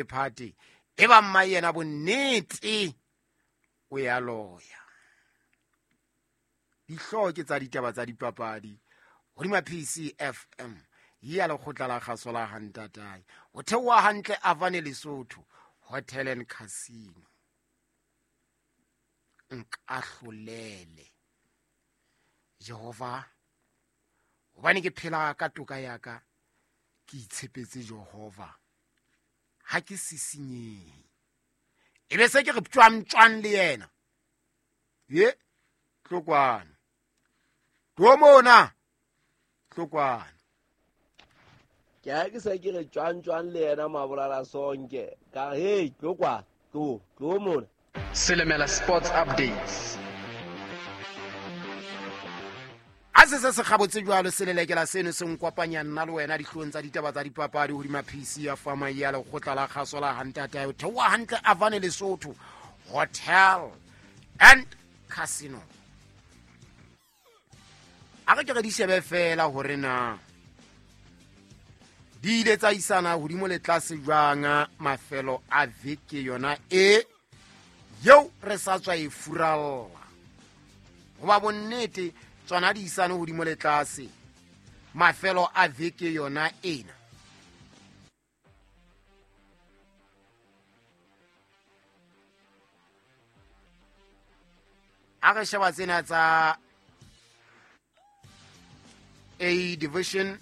Phate e ba mma yena bonnete o ya loya. Dihlooho ke tsa ditaba tsa dipapadi hodima PCFM ya lekgotla la kgaso la Hantatae. O theoha hantle Avane Lesotho Hotel and Casino. Nkahlolele Jehova, hobane ke phela ka toka ya ka, ke itshepetse Jehova, ha ke sisinyehe. E be se ke re tswang tswang le yena. Ye tlokwana tlo mona, tlokwana. Ke ha ke se ke re tswang tswang le yena Mabolala Sonke, ka re hey tlokwana, tlo tlo mona. Selemela Sports Updates. A se se se gabotse jwalo selelekela seno se nkopanya nna le wena dihlong tsa ditaba tsa dipapadi hodima PC ya fama ya lekgotla la kgaso la Hantatae. O theoha hantle Avane Lesotho Hotel and Casino. A re ke re di shebe fela hore na di ile tsa isana hodimo le tlase jwang mafelo a veke yona e yeo re sa tswa e furalla. Hoba bonnete tsona di isane hodimo le tlase mafelo a veke yona ena. A re sheba tsena tsa A division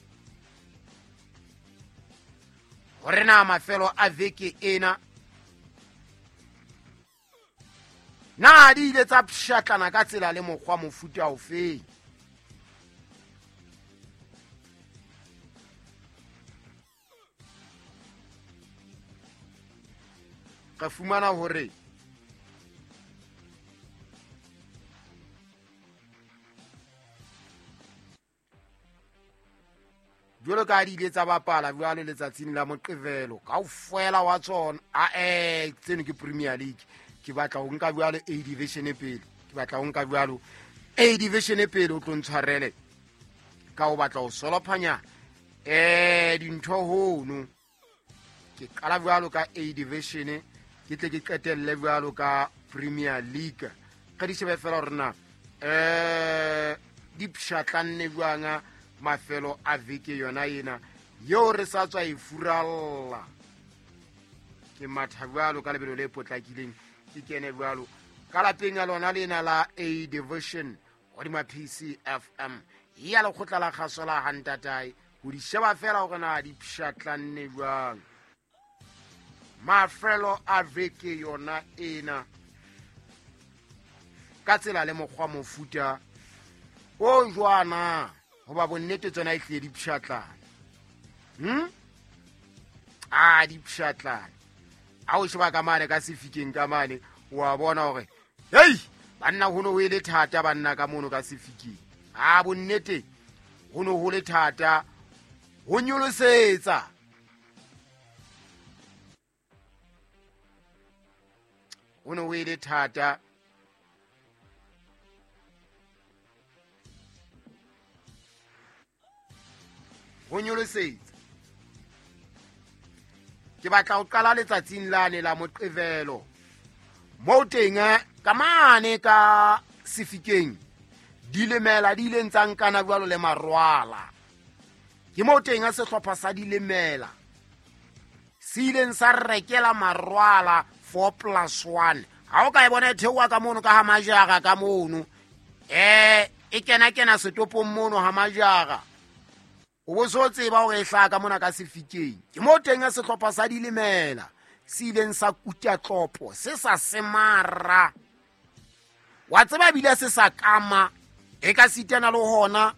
hore na mafelo a veke ena na di ile tsa pshatlana ka tsela le mokgwa mofuta ofeng. Re fumana hore jwalo ka di ile tsa bapala jwalo letsatsing la Moqebelo kaofela wa tsona. A tseno ke Premier League. Ke batla ho nka jwalo A division pele, ke batla ho nka jwalo A division pele, o tlo ntshwarele ka ho batla ho solophanya dintho hono. Ke qala jwalo ka A division, ke tle ke qetelle jwalo ka Premier League. Re di shebe fela hore na di pshatlanne jwang mafelo a veke yona ena yeo re sa tswa e furalla. Ke matha jwalo ka lebelo le potlakileng, ke kene jwalo ka lapeng ya lona lena la A division hodima PCFM ya lekgotla la kgaso la Hantatae, ho di sheba fela hore na di pshatlanne jwang mafelo a veke yona ena ka tsela le mokgwa mofuta o jwana. Hoba bonnete tsona e tlile di pshatlana. A di pshatlana. A o sheba ka mane ka sefikeng ka mane, wa bona hore hei banna ho no ho le thata banna ka mono ka sefikeng. A bonnete ho no ho le thata ho nyolosetsa. Ho no ho le thata ho nyolosetsa. Ke batla ho qala letsatsing lane la Moqebelo moo teng ka mane ka sefikeng dilemela di ileng tsa nkana jwalo le marwala. Ke moo teng sehlopha sa dilemela se ileng sa rekela marwala 4+1. Ha o ka e bona e theoha ka mono ka ha majara ka mono, e kena kena setopong mono ha majara, o bo so tseba hore e hlaha ka mona ka sefikeng. Ke moo teng sehlopha sa dilemela se ileng sa kuta tlopo se sa semara, wa tseba ebile se sa kama, e ka sitana le hona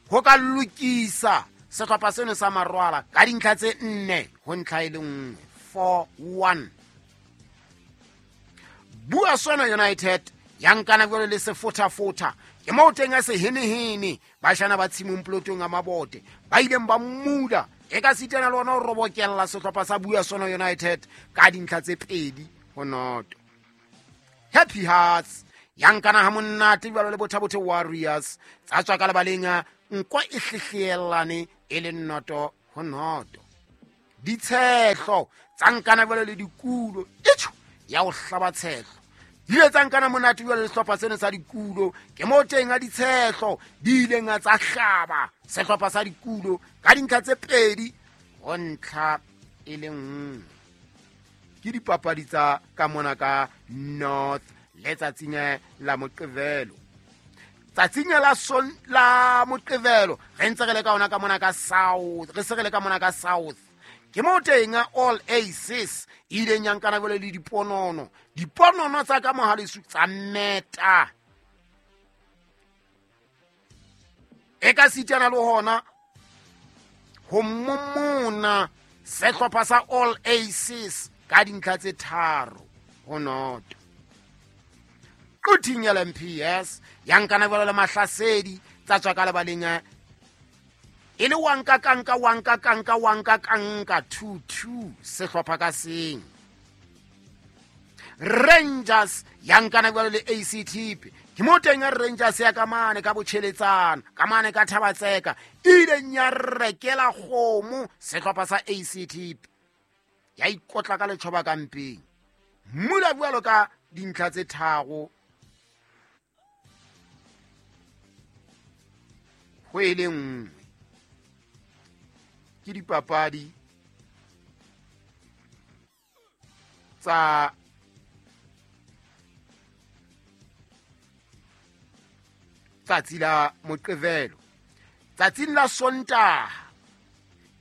ho ka lokisa sehlopha seno sa marwala ka dintlha tse 4 ho ntlha e le nngwe, 4-1. Bua Sona United ya nkana jwalo le sefothafotha. Ke moo teng a sehenehene bashana ba tshimong plotong ya mabote ba ileng ba mmuda e ka sitana le ona ho robokella sehlopha sa Bua Sona United ka dintlha tse 2 ho 0. Happy Hearts ya nkana ha monate jwalo le Bothabothe Warriors tsa tswa ka lebaleng nko e hlehlelane e le 0 ho 0. Ditshehlo tsa nkana jwalo le dikulo etjho ya ho hlaba tshehlo di ile tsa nkana monate jwalo le sehlopha seno sa dikulo. Ke moo teng a ditshehlo di ileng tsa hlaba sehlopha sa dikulo ka dintlha tse 2 ho ntlha e le 1. Ke dipapadi tsa ka mona ka North letsatsing la Moqebelo. Tsatsing la Moqebelo re ntse re le ka ona ka mona ka South, re se re le ka mona ka South. Ke moo teng All Aces e ileng ya nkana jwalo le diponono. Diponono tsa ka mohalesu tsa meta. E ka sitana le hona ho momona sehlopha sa All Aces ka dintlha tse 3 ho 0. Quthing LMPS ya nkana jwalo le mahlasedi tsa tswa ka lebaleng e le wanka kanka wanka kanka wanka kanka 2-2 sehlopha ka seng. Rangers ya nkana jwalo le ACT. Ke mo teng ya Rangers ya ka mane ka botjheletsana ka mane ka Thabatseka e ileng ya rekela kgomo sehlopha sa ACT ya ikotla ka letjhoba ka mpeng mmula jwalo ka dintlha tse 3 ho e le 1. Ke dipapadi tsa tsatsi la Moqebelo. Tsatsing la Sontaha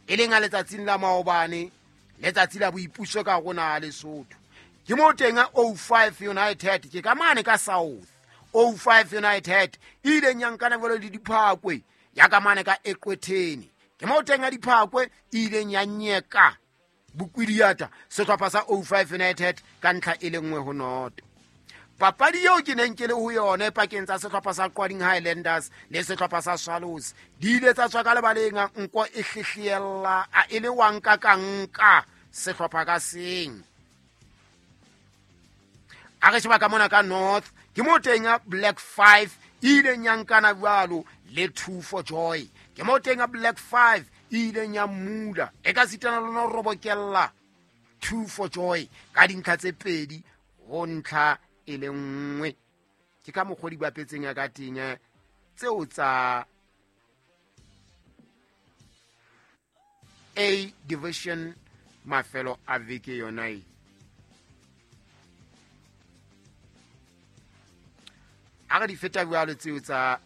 e leng a letsatsing la maobane, letsatsi la boipuso ka rona Lesotho. Ke moo teng 05 United ke ka mane ka South. 05 United e ileng ya nkana jwalo le Diphakwe ya ka mane ka Eqwetheni. Ke moo teng a Diphakwe e ileng ya nyeka Bokwidiata sehlopha sa 05 United ka ntlha e le 1 ho 0. Papadi eo ke neng ke le ho yone pakeng tsa sehlopha sa Qwading Highlanders le sehlopha sa Swallows di ile tsa tswa ka lebaleng nko e hlehliella a e le wanka ka nka sehlopha ka seng. A re sheba ka mona ka North ke mo teng a Black 5 e ileng ya nkana jwalo le 2 for Joy. Ke mo teng a Black 5 e ileng ya mmula e ka sitana le no robokella 2 for Joy ka dintlha tse 2 ho ntlha e le 1. Ke ka mokgwa di bapetseng ya ka teng tseo tsa A Division mafelo a veke yona e. A re di feta jwalo tseo tsa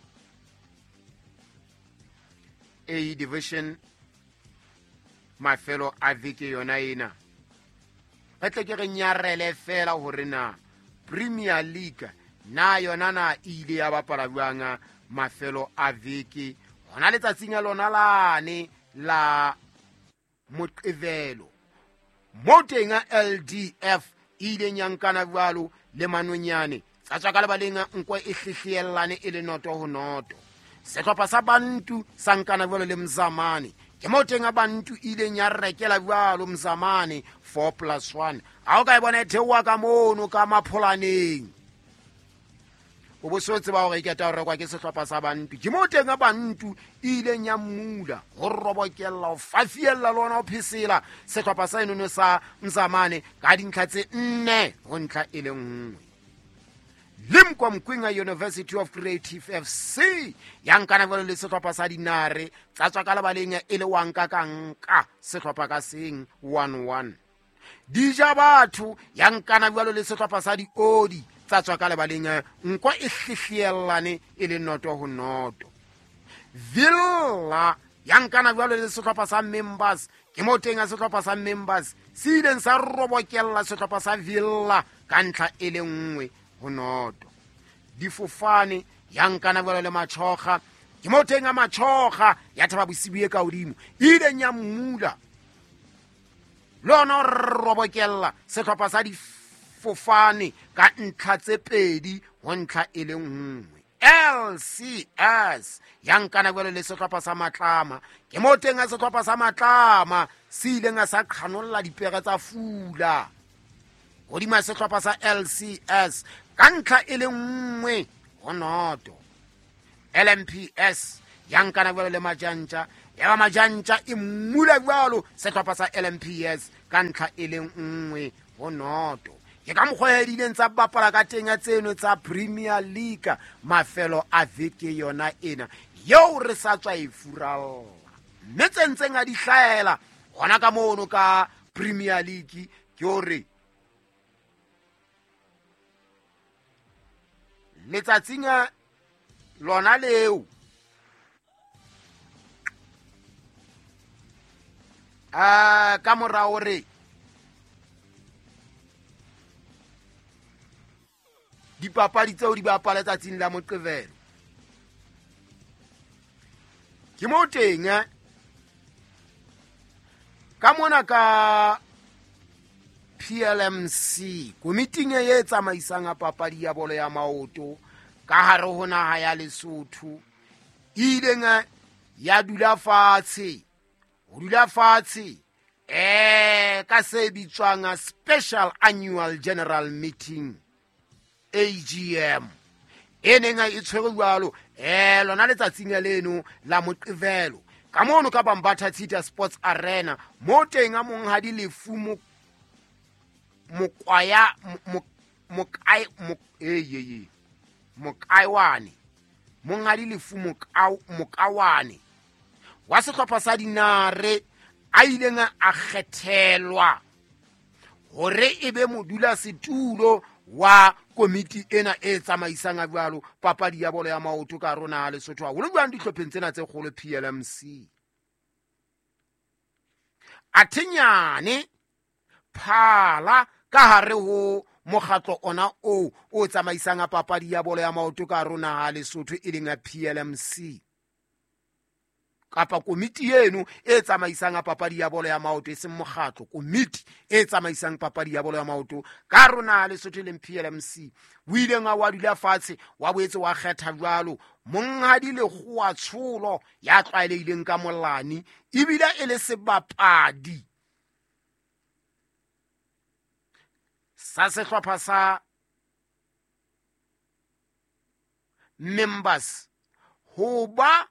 A Division mafelo a veke yona ena. Re tle ke re nyarele fela hore na Premier League na yona na ile ya bapala jwang mafelo a veke hona letsatsing la lona lane la Moqebelo. Mo teng LDF e ileng ya nkana jwalo le Manonyane tsa tswa ka lebaleng nko e hlehliellane e le 0 ho 0. Sehlopha sa Bantu sa nkana jwalo le Mzamane. Ke mo teng a Bantu ileng ya rekela jwalo Mzamane 4+1. Ha o ka e bona e theoha ka mono ka mapholaneng o bo so tseba hore e keta ho rekwa ke sehlopha sa Bantu. Ke mo teng a Bantu ileng ya mmula ho robokella ho fafiella le ona ho phesela sehlopha sa enono sa Mzamane ka dintlha tse 4 ho ntlha e le 1. Limkwa Mkwinga University of Creative FC ya nkana jwalo le sehlopha sa Dinare tsa tswa ka lebaleng e le wanka ka nka sehlopha ka seng 1-1. Dija batho ya nkana jwalo le sehlopha sa Diodi tsa tswa ka lebaleng nko e hlehliellane e le 0 ho 0. Villa ya nkana jwalo le sehlopha sa Members. Ke mo teng a sehlopha sa Members se ileng sa robokella sehlopha sa Villa ka ntlha e le 1 ho 0. Difofane ya nkana jwalo le Machoga. Ke mo teng a Machoga ya thaba bosibu e ka hodimo e ileng ya mmula le ona robokella sehlopha sa Difofane ka ntlha tse 2 ho ntlha e le 1. LCS ya nkana jwalo le sehlopha sa Matlama. Ke mo teng a sehlopha sa Matlama se ileng sa qhanolla dipere tsa fula hodima sehlopha sa LCS ka ntlha e le 1 ho 0. LMPS ya nkana jwalo le Majantja Ya ba Majantja e mmula jwalo sehlopha sa LMPS ka ntlha e le 1-0. Ke ka mokgwa e dileng tsa bapala ka teng ya tseno tsa Premier League mafelo a veke yona ena yeo re sa tswa e furalla, mme tse ntseng a di hlahela hona ka mono ka Premier League ke hore letsatsing lona leo ka mora hore dipapadi tseo di bapala tsatsing la Moqebelo, ke mo teng ka mona ka PLMC komiting e tsamaisang papadi ya bolo ya maoto ka hare ho naha ya Lesotho e ileng ya dula fatshe ho dula fatshe ka se bitswang Special Annual General Meeting AGM e neng e tshwere jwalo lona letsatsing leno la Moqebelo ka mono ka Bambatha Theatre Sports Arena mo teng a monghadi Lefu Mokwaya Mokaiwane monghadi Lefu Mokawane wa sehlopha sa Dinare a ileng a kgethelwa hore e be modula setulo wa komiti ena e tsamaisang jwalo papadi ya bolo ya maoto ka rona Lesotho haholo jwang dihlopheng tsena tse kgolo PLMC. Athenyane phala ka hare ho mokgatlo ona o tsamaisang papadi ya bolo ya maoto ka rona Lesotho e leng ya PLMC kapa komiti eno e tsamaisang papadi ya bolo ya maoto e seng mokgatlo, komiti e tsamaisang papadi ya bolo ya maoto ka rona Lesotho leng PLMC o ileng wa dula fatshe wa boetse wa kgetha jwalo monghadi Lekgowa Tsholo ya tlwaelehileng ka Molani ebile e le sebapadi sa sehlopha sa Members ho ba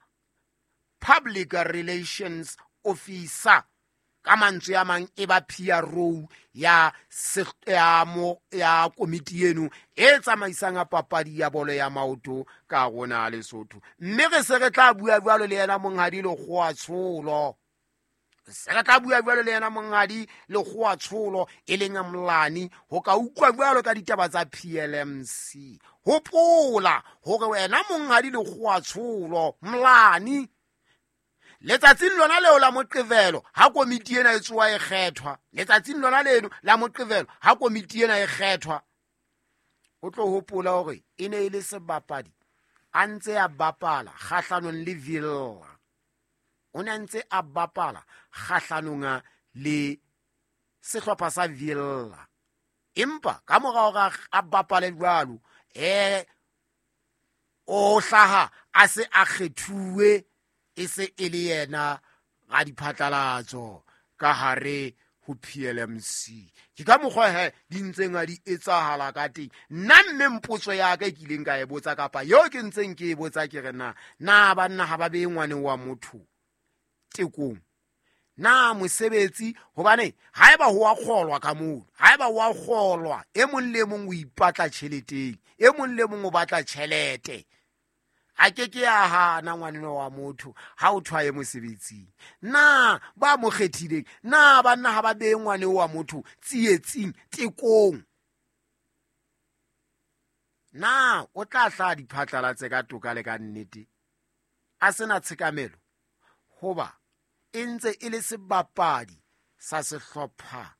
Public Relations Officer ka mantswe a mang e ba PRO ya komiti eno e tsamaisang papadi ya bolo ya maoto ka rona Lesotho. Mme re se re tla bua jwalo le yena monghadi Lekgowa Tsholo, se re tla bua jwalo le yena monghadi Lekgowa Tsholo e leng Molani ho ka utlwa jwalo ka ditaba tsa PLMC. Hopola hore wena monghadi Lekgowa Tsholo Molani letsatsing lona leo la Moqebelo ha komiti ena e tsoa e kgethwa, letsatsing lona leno la Moqebelo ha komiti ena e kgethwa, o tlo hopola hore e ne e le sebapadi a ntse a bapala kgahlanong le Villa, o ne a ntse a bapala kgahlanong le sehlopha sa Villa, empa ka mora hore a bapale jwalo o hlaha a se a kgethuwe e se e le yena ga diphatlalatso ka hare ho PLMC. Ke ka mokgwa he di ntseng a di etsahala ka teng. Nna mme mpotso ya ka e kileng ka e botsa kapa eo ke ntseng ke e botsa ke re na banna ha ba beye ngwane wa motho tekong na mosebetsi, hobane haeba ho a kgolwa ka moo, haeba ho a kgolwa e mong le mong o ipatla tjheleteng, e mong le mong o batla tjhelete, a ke ke a hana ngwaneno wa motho ha o thwaye mosebetsing. Na ba mo kgethileng, na banna ha ba beye ngwane wa motho tsietsing tekong, na o tla hla diphatlalatse ka toka le ka nnete a sena tshekamelo hoba e ntse e le sebapadi sa sehlopha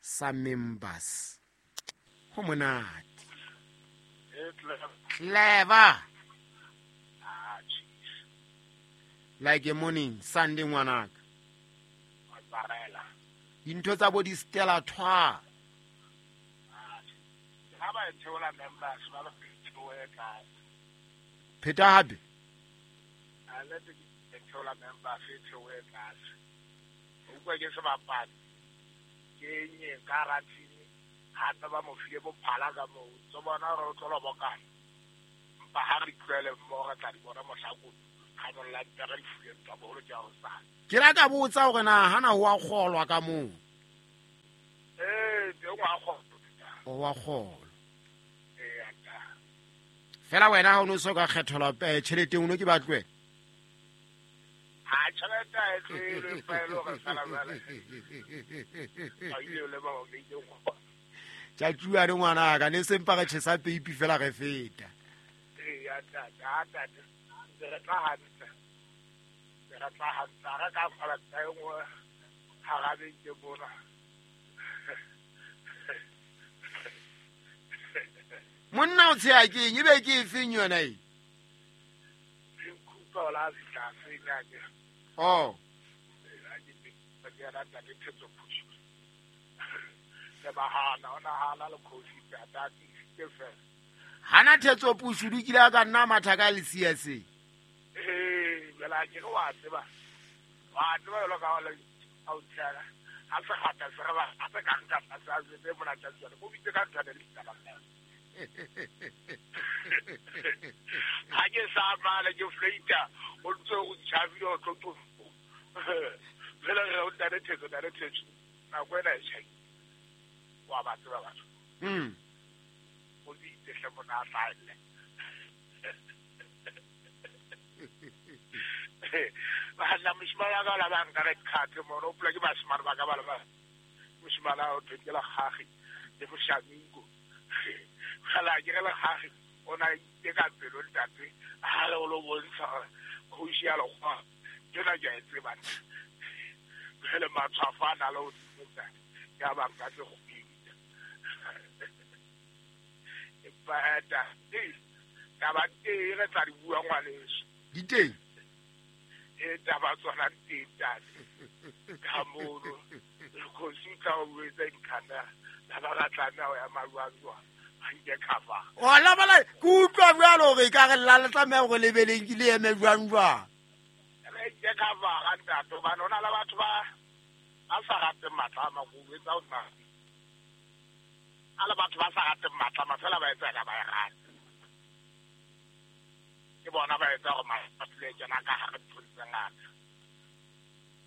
sa Members? Ho monate. Clever. Like a morning Sunday ngwanaka. Dintho tsa bo di Stella Thwa. Ha ba theola Members ba ba theoe tlase. Pheta hape. A le theola Members e theoe tlase. O utlwa ke sebapadi ke nye ka ratini hape ba mo file bophala ka moo. Tso bona hore o tlo lobokana. Mpa ha re tlohele mmoho re tla di bona mohlakong. Khamollang pere difubeng tsa boholo ke a hosane. Ke la ka botsa hore na hana ho a kgolwa ka moo. Ee, teng wa kgolwa. O wa kgolwa. Ee, ata. Fela wena ha o no so ka kgethelwa tjhelete o no ke batlwe. Ha tjhelete ha e tlohele empa e le hore fela jwale. Ha ile le ba o beile go. Tjatjuane ngwana ka ne sempa re tjhesa peipi fela re feta. Ee, ata, ata. Re tla hantle. Re tla hantle. Re ka fala tsa e nngwe hara beke mona. Monna o tsheha ke eng? Ebe ke efeng yona e? Nkupa o la fihla fenya ke. Oh. Ke rata ke thetso phusu. Le bahana ona hana le khosi tata ke fela. Hana thetso phusu di kile ka nna matha ka le siya se. Eh, bela ke wa tseba. Wa tseba lo ka le au tsela. Ha se hata se re ba a se ka nka sa se mona tsa tsela. Mo bitse ka ntwa le ditaba. Ha ke sa mala ke fleita o ntse o tjhabile o tlo fela re o ntane thetso nako ena e tjhai wa ba tseba batho o bitse hle mona a hlaelle bana moshimane wa ka la ba nka re khathe mono o pula ke bashimane ba ka ba le ba moshimane a o thwe ke lekgagi le moshamiko fela ke re lekgagi o na ke ka pelo ntate ha le o lo bontsha gore kgoši ya lekgowa ke na ke a e tseba jale matshwafo a na le o ntate ke a banka se go bita empa eta taba teng re tla di bua ngwaneso di teng e taba tsona teng tate ka mono kgosi o tla o etsa dikhana la ba ra tlameha ho ya maruang nke cover. O la bala ke utlwa jwalo hore ka re la le tlameha hore lebeleng ke le eme jwang jwang. Re nke cover ga ntate hobane ho na le batho ba sa rateng matlama go etsa o nna. A le batho ba sa rateng matlama fela ba etsa ka ba e rata. Ke bona ba etsa hore matlama le kena ka hare nthong tse ngata.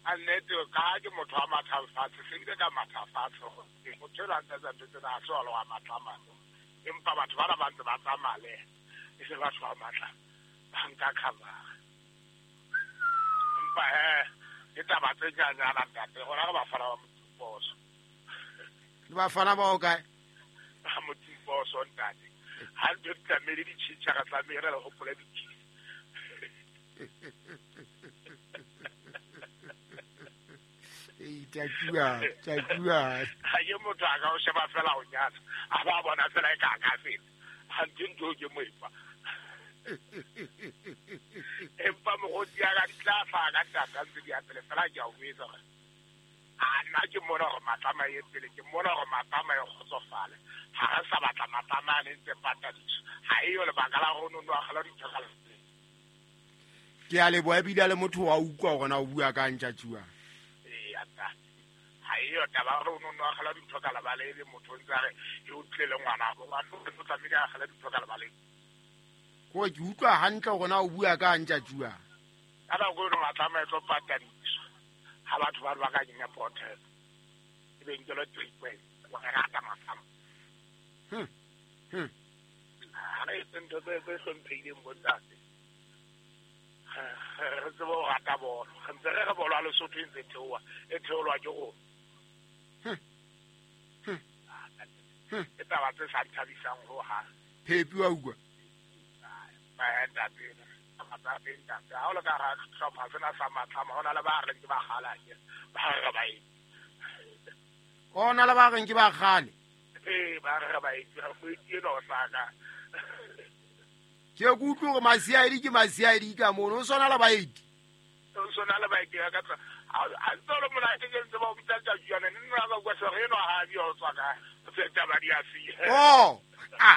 A nnete ka ke motho wa mathang fatshe, se bile ka matha fatshe hore motho enwa a ntse a etsa ntho tsena ha se wa le wa matlama. Empa batho bana ba ntse ba tsamaya le e se batho ba matla ba nka cover. Empa ke taba tse nyanyana ntate rona re bafana ba Motsiposo. Le bafana ba o kae? Ba Motsiposo ntate. Ha ntho di tlamehile di tjhentjha re tlamehile re hopole di-kiss. Tjatjua, tjatjua. Ha ke motho a ka o sheba fela o nyatsa. A ba bona fela e ka ka feta. Ha ntho ntho ke moepa. Empa mokgotsi ya ka di tla hlaha ka ntata ntse di ya pele fela ke a o etsa hore a nna ke mona hore matlama e pele ke mona hore matlama e kgotsofale. Ha re sa batla matlama a ne ntse patadiswa. Ha eyo lebaka la hore o no akgela dintho ka lapeng. Ke a leboha ebile a le motho wa utlwa hore na o bua ka ntjatjua. Ha eyo taba hore o no akgela dintho ka lebala ebe motho o ntse a re e o tlile le ngwana bo ngwana o tlamehile a akgela dintho ka lebaleng. Ko ke utlwa hantle hore na o bua ka ntjatjua. Ka nako eno matlama e tlo patadiswa. Ha batho ba ba ka kenya protest. E be nkelwe 3 points. Wa re rata matlama. Ha re etse ntho tse hlomphehileng bo ntate. Re tsebe ho rata bolo. Re ntse re re bolo ya Lesotho e ntse theoha, e theolwa ke rona. Ke taba tse sa nthabisang hohang. Phepi wa utlwa? Ntate, ntate. Ha o le ka hara sehlopha sena sa matlama, ho na le ba reng ke ba kgale akere, ba re ba etse. Ho na le ba reng ke ba kgale? Ee, ba re ba etse. Moeti enwa o sa ka. Ke ke utlwe hore masiaedi ke masiaedi ka mono, o swana le baeti. O swana le baeti ka tsa. A ntse o le monate ke ntse ba o bitsa tjatjana, nne nna ka bua sehore enwa ha a bua o tswa kae? O se taba di a siya. Oh. Ha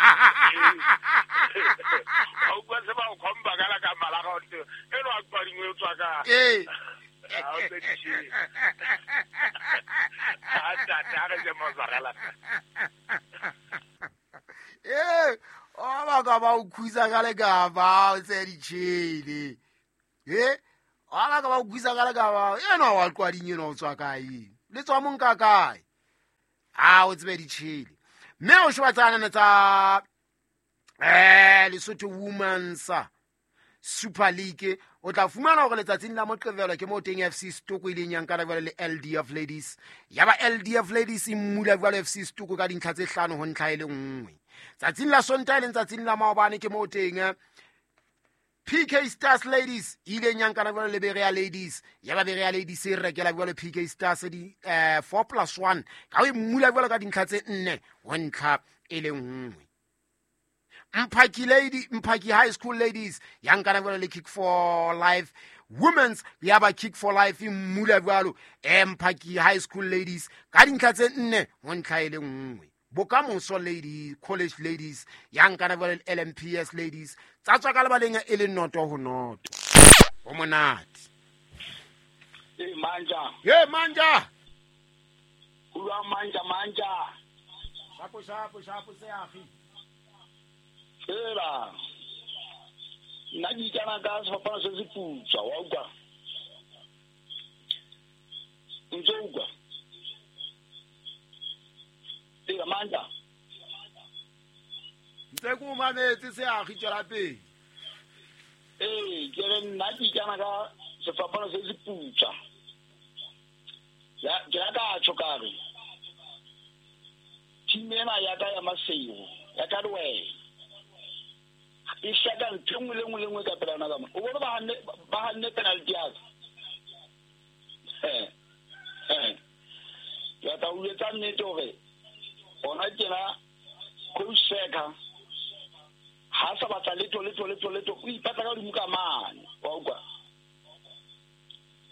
o bua se ba o khomba ka la ka mala ga o ntse enwa a tswa dingwe o tswa kae? Ee. Ha o tse di tjhe. Ha ntate ha re je mozzarella. Ee, o ba ka ba o khusa ka le ka ba o tse di tjhele. E ala ka ba utlwisa ka le ka ba ena wa qwading ena o tswa kae le tswa mong ka kae a o tsebe ditšhele mme o sheba tsanana tsa Lesotho Women's Super League o tla fumana hore letsatsing la Moqebelo ke mo teng FC Stoko ileng ya nkana jwale le LDF Ladies ya ba LDF Ladies e mmula jwale FC Stoko ka dintlha tse 5 ho ntlha e le nngwe. Tsatsing la Sontaha e leng tsatsing la maobane ke mo teng PK Stars Ladies ileng ya nkana jwale le Berea Ladies ya ba Berea Ladies e rekela jwale PK Stars di 4+1 ka o mmula jwale ka dintlha tse 4 ho ntlha e le nngwe. Mphaki High School Ladies ya nkana jwale le Kick for Life Women's ya ba Kick for Life e mmula jwalo Mphaki High School Ladies ka dintlha tse 4 ho ntlha e le nngwe. Bokamoso Ladies College Ladies ya nkana jwale le LMPS Ladies tsa tswa ka lebaleng e le 0-0. Ho monate. E manja. Ye manja. Ulwa manja manja. Shapo shapo shapo seafi. Ela. Nna ke ikana ka sefapano se se putswa wa utlwa. Ntse utlwa. Ela manja. Ntse ko mametse seafi tswela pele. Ee, ke re nna ke ikana ka sefapano se se putswa. Ya ke ka tjho ka re. Team ena ya ka ya Masego, ya ka le wena. E shaka ntho nngwe le nngwe le nngwe ka pela yona ka mona. O bone ba hanne penalty ya ka. Ke batla ho etsa nnete hore ona tjena coach Seka ha sa batla letho o ipatla ka hodimo ka mane wa utlwa.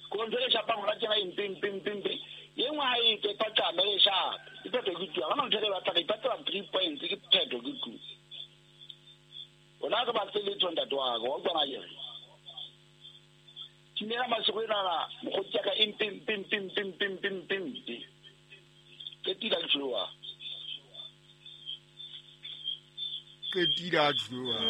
Ko ntho e shapang hona tjena e mpe ye nngwe ha e tswe paqame e shape e phetho ke tu. Ha hona ntho e batla re ipatla 3 points ke phetho ke tu. Ona ka batle letho ntate wa ka wa utlwa na ke re. Timela Masego ena mokgotsi ya ka e mpe. Ke tila ke tloha. Ke tila tloha.